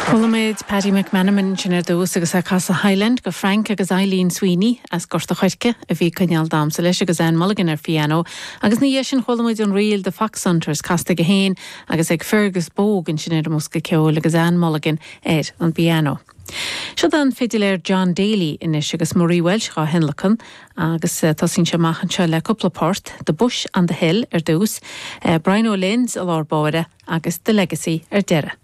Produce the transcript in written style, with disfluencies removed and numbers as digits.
Chuala muid Paddy McMenamin ansin ar dtús agus é ag casadh Highland go Frank agus Eileen Sweeney as Gort a' Choirce a bhí ag coinneáil damhsa leis agus Anne Mulligan ar phianó agus ina dhiaidh sin chuala muid an ríl The Foxhunters casta aige féin agus ag Fergus Bogue ansin ar an mbosca ceoil agus Anne Mulligan ar an bpianó. Siod an fidiléir John Daly anois agus Marie Walsh dhá thionlacan agus tosaíonn sé amach anseo le cúpla port, The Bush on the Hill ar dtús, Brian O'Lynn's i lár báire agus The Legacy ar deireadh.